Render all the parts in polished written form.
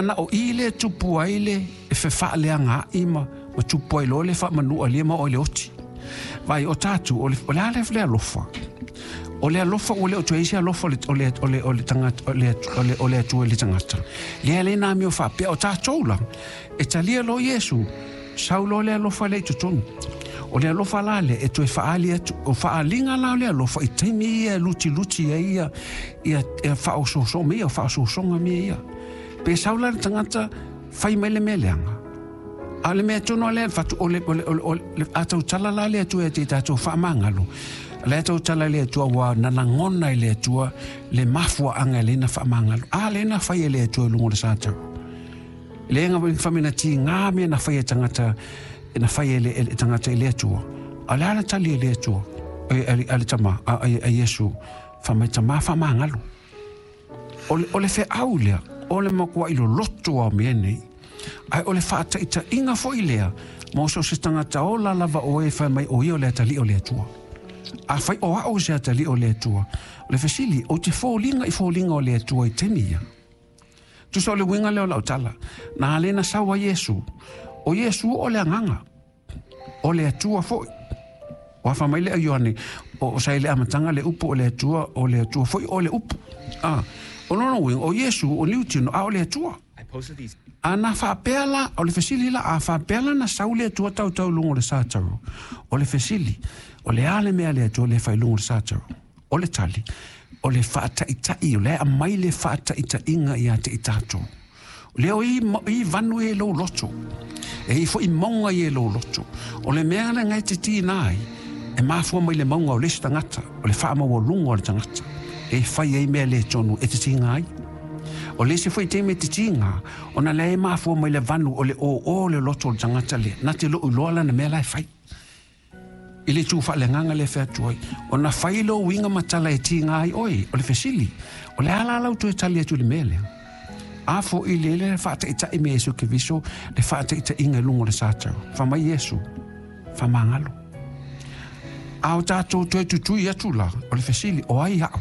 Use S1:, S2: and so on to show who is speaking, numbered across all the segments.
S1: Na o i le tupu ai le fefaaleagaai ma tupu ai loa le faamanualia ma oo i le oti. Vaai, o tatou, o le a le alofa? O le alofa ua le o toe i ai se alofa o le tagata o le Atua i le tagata. Lea le na amio faapea o tatou la, e talia loa Iesu, sau loa le alofa lea i totonu. O le alofa la lea e toe faaali atu, o faaaliga la o le alofa i taimi ia e lutiluti ai ia faaosoosoga mea ia, o faaosoosoga mea ia. Pe sau la le tagata fai mai le mea leaga. A o le mea tonu lava lea fatu o le a tautala la le Atua ia te tatou faamagalo. Le tautala le Atua ua na lagona i le Atua le mafuaaga e le na faamagalo. A le na fai e le Atua i luga o le satau. Le nga famina ti ngā mea na fai e tagata na fai e le tagata i le Atua. A le ala tali e le Atua. E a le tama a Iesu fa mai tama faamagalo. O le feau lea, o le matua i loloto a mea nei. Ai o le faataitaiga foi lea, mo so se tagata ola lava o e fai mai o ia o le atalii o le Atua. A fai o au se atalii o le Atua, o le fesili, o te foliga i foliga o le Atua i taimi ia. Tusa o le uiga lea o lau tala, na ale na sau a Iesu, o Iesu o le agaga, o le Atua foi. Ua fa mai le Ioane, o sa i le amataga le upu o le Atua, o le Atua foi o le upu. Ah, o lona uiga, o Iesu o liutino, a o le Atua. A na faapea la, o le fesili la, a faapea la na sau le Atua tautau i luga o le sataro. O le fesili, o le a le mea le Atua le fai i luga o le sataro? O le tali, o le faataitai, o le aumai le faataitaiga ia te i tatou. Lea o i vanu e lou loto. E i foi mauga i e lou loto. O le mea le ngai te tina ai, e mafua mai le mauga o le isi tagata, o le faamaualuga o le tagata. E fai ai mea le tonu e te tiga ai. O le isi foi taimi e te tiga, ona lea e mafua mai le vanu o le o le loto o le tagata lea. Na te loo iloa lana mea la e fai. I le tū whaalenganga le wheatu ai. O na whai lo winga matala e tiga ai oi, o le fesili. O le ala lau toe tali atu le mea lea. A fo i le le whaataitai me Iesu Keriso, le whaataitaiga i luga o le satau. Fa mai Iesu, faamagalo. A o tatou toe tutui atu la, o le fesili, o ai au.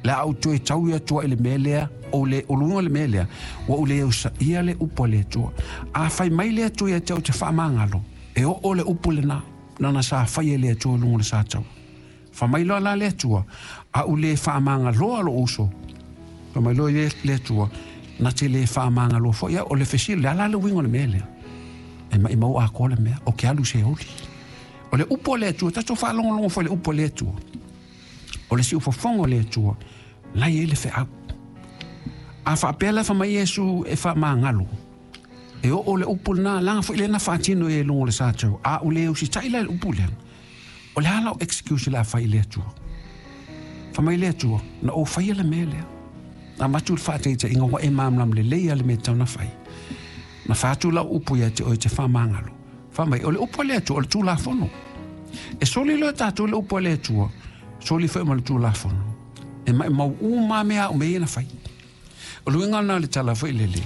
S1: Le au toe tau ia tua i le mea lea, o le o luga o le mea lea, ua u le usaia le upu a le Atua. A fai mai le Atua ia te au te faamagalo, e oo le upu lena, nana sa fai e le Atua i luga o le satau. Fa mai loa la le Atua, a u le faamagaloa lo uso. Fa mai loa le Atua, na te le faamagaloa foi au. O le fesili, le ala le uiga o le mea lea. E mai mau atoa le mea, o ke alu se oli. O le upu a le Atua, tatou faalogologo foi i le upu a le Atua. O le siufofoga o le Atua, lai ai le feau. A faapea la fa mai Iesu e faamagalo, e oo le upu lena, laga foi le na faatino e luga o le satau. A u le usitai la i le upu lea, o le a lau excuse le a fai i le Atua? Fa mai le Atua, na ou faia le mea lea. Na avatu le faataitaiga ua e malamalama lelei lava le mea e tatau ona fai. Na fai atu lau upu ia te oe te faamagalo. Fa mai, o le upu a le Atua, o le Tulafono. E soli loa tatou le upu a le Atua, soli foi ma le Tulafono. E maumau uma mea au mea ia na fai. O le uiga lena o le tala foi lele,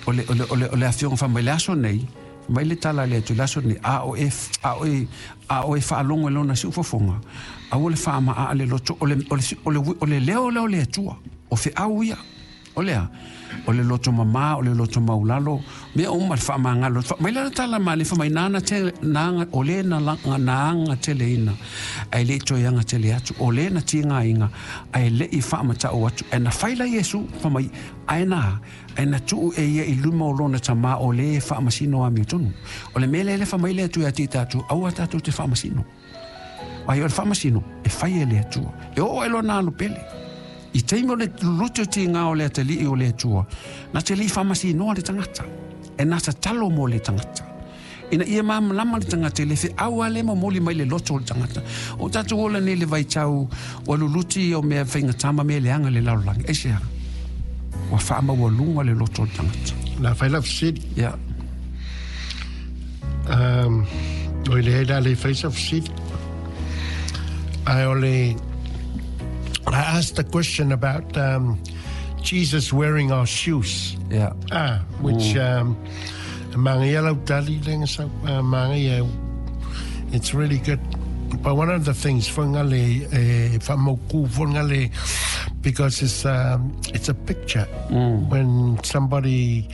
S1: o le afioga fa mai le aso nei, mai le tala le atu le aso nei, a o e faalogo i lona siufofoga, aua le faamaa le loto, o le leo lea o le Atua, o feau ia. O lea, o le loto mamā, o le loto maulalo, mea uma le faamagalo. Mai la tala ma le fa mai nana te nanga o le na langa na anga tele ina. Ai le toe anga tele atu, o le na tiga inga, ai le i faamatau atu. E na fai la Iesu, fa mai, ai na tuu e ia i luma o lona tama o le faamasino amiotonu. O le mea lea le fa mai le atu ia te tatou, aua tatou te faamasino. Ai o le faamasino, e fai e le Atua. E oo e lona alu pele. I taimi o le luluti o tiga o le atalii o le Atua, na te le i faamasinoa le tagata. E na tatalo mo le tagata. Ina ia malamalama le tagata i le feau a le momoli mai le loto o le tagata. O tatou ola nei le vaitau, ua luluti o mea faigata ma mea leaga le lalolagi. Aisea? Ua faamaualuga le loto o le tagata.
S2: La fai la fesili.
S1: Ia.
S2: O le la le fai sa fesili. I only I asked the question about Jesus wearing our shoes. Ah, which manga ia lau tali lenga sa manga ia, it's really good. But one of the things fangale whamoku fangale, because it's a picture when somebody